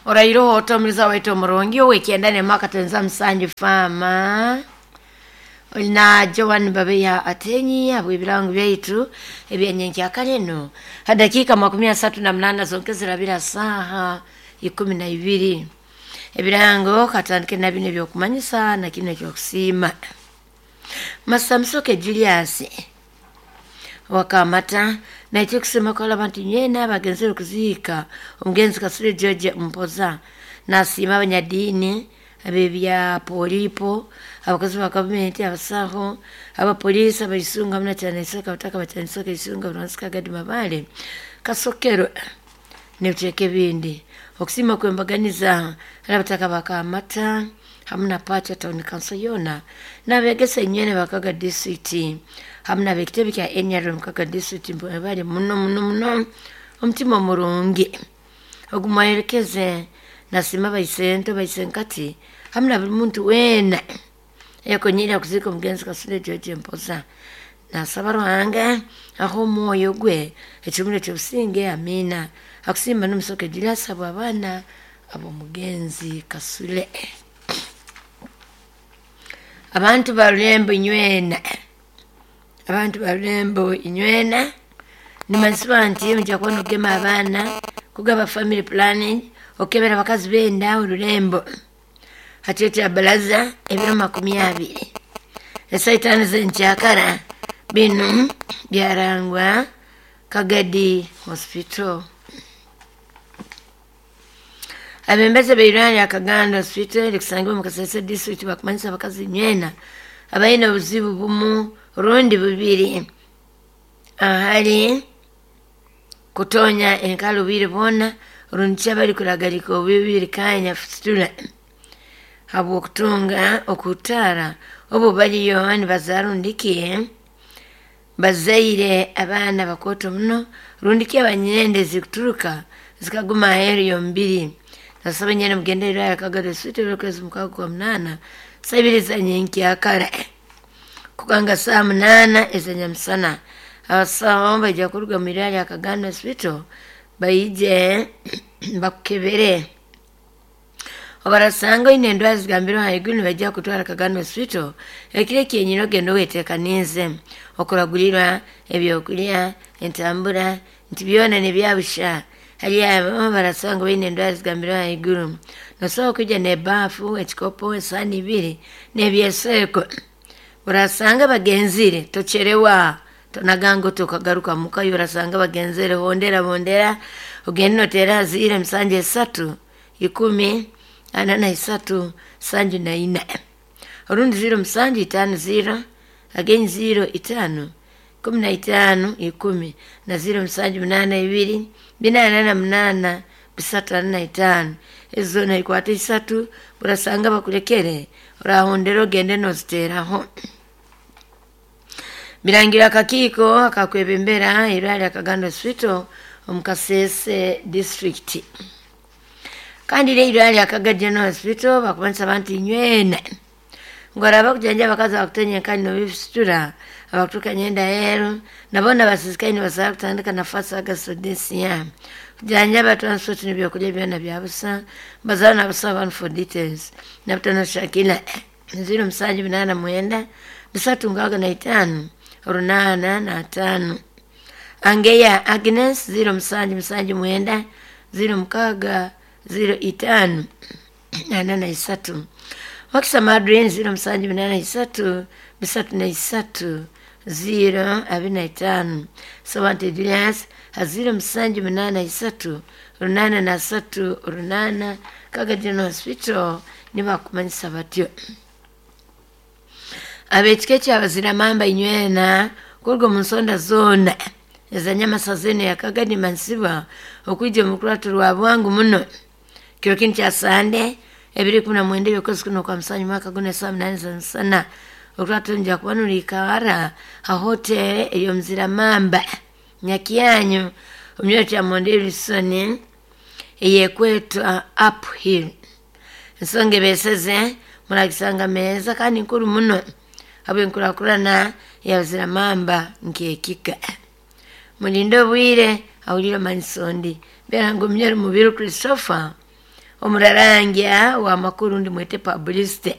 Orairoho otomuliza waitu omurungi owekyenda nemaka tenza musanju fama na Joan Babeya Atenyi habw'ebirango byaitu ebyanyenkyakara eno ha dakiika 38 zonka zirabira saaha 12. Ebirango katandike na bino ebyokumanyisa na kino ekyokusiima. Masamusoke Julius wakamata naitwe kusema kola abantu nywena abagenzere kuziika omugenzi Kasule George Mpoza. Nasiima abanyadiini ab'ebya polipo, abakozi ba gavumenti, abasaho, abapoliisi, abaisunga hamwe na kyanisoka abataka bakyanisoka isunga buransi Gadi Mabale Kasokero n'ebicweka ebindi. Okusiima kwembaganiza hari abataka bakamata hamwe na Pacha Town Council yoona n'abegesa enywene bakaga district hamwe n'abekitebe kya NRM Kaga district bali muno muno muno omutima omurungi ogumwayerekeze. Nasiima baisento baisenkati hamwe na buli muntu weena eyakonyire kuziika omugenzi Kasule George Mpoza. Nasaba Ruhanga aho omwoyo gwe ekirumuro ky'obusinge, amiina. Akusimba n'omusoke Julius abo abaana ab'omugenzi Kasule. Abantu ba Rulembo inywena, abantu ba Rulembo inywena, nimanyisibwa nti mujja kuba nogema abaana kugaba family planning okebera abakazi benda orulembo hakiro kya balaza ebiro 20 esaa 5 z'enkyakara. Binu byarangwa Kagadi Hospital. Abembezi b'eirwaro Akaganda Hospital erikusangibwa omu Kasese district bakumanyisa abakazi nywena abaine obuzibu bumu rundi bubiri ahali kutonya enkala obwire bwona rundi ki abari kuragarika obubiri kanya fistula habw'okutunga okutaara obu bariyo nibazaara rundiki bazaire abaana bakooto muno rundiki abanyende zikuturuka zikaguma aheeru y'omubiri. Nasaba nyene mugende irwaro Kagadi Hospital okwezi 6 kwa 8 saa 2 za nyenkyakara kukanga saa 8 ez'enyamusana. Abasaho baija kuruga mu irwaro Akaganda Hospital baije bakukebere obarasanga oine endwara zigambirwe haiguru nibaija kutwara Kaganda Hospital ekiro ekyenyine ogenda oweteekaniize okuragurirwa ebyokurya entambura nti byona nibyabusha. Hari abo barasanga baine endwara zigambirwe haiguru nosobola kwija n'ebaafu, ekikopo, esaani ibiri n'ebyeseeko. Urasanga bagenzire tocherewa tonaganga tukagaruka muka. Urasanga bagenzere hondera bondera ogende notera zire 7 3 10 43 74 orundi 0 7 5 0 again 0 5 15 10 na 0 7 8 2 4 8 3 45 ezo naikwata 3. Urasanga bakurekere urahondera ogende noziteraho. Birangira akakiiko akakwebembera irwaro Akaganda Hospital omu Kasese district. Kandi rero irwaro Akaga General Hospital bakumanyisa abantu inywena ngu araba kujanja abakazi abakutonya enkani nobifisitura abakuturuka nyenda aheeru nabona abasisikaire nibasobola kutandika nafasi agasodesiya kujanjaba transport n'ebyokurya byona bya busa. Bazaara n'abasaho abantu for details nabutano Shakila 0 7 8 9 3 65 8 5, Angeya Agnes 0 7 7 9 0 6 0 5 43, Wakisa Madrin 0 7 8 3 3 3 0 25, Sawante Julius 0 7 8 3 8 3 8. Kaga General Hospital nibakumanyisa batyo. Abekika ekyabaziramamba inywena kuruga omu nsonda zoona ezanyamasaza enu ya Kagadi mansibwa okwija omu rukurato rwa bwangu muno kiro kinu kya Sande ebiri 19 ebyokwezi kuno kwa musanju mwaka guno esaa 8 z'emisana. Orukurato nija kuba nurikara ha hoteri ey'omuziramamba Nyakyanyu omu kya Mondelisoni eyekwetwa Uphill. Ensonga ebeseze muragisanga meza kandi nkuru muno habw'enkurakurana yabaziramamba nk'ekika. Mulinde obwire ahulire manyisondi beera ngu Mubiru Christopher Omurarangya w'amakuru, ndi mwete publicity.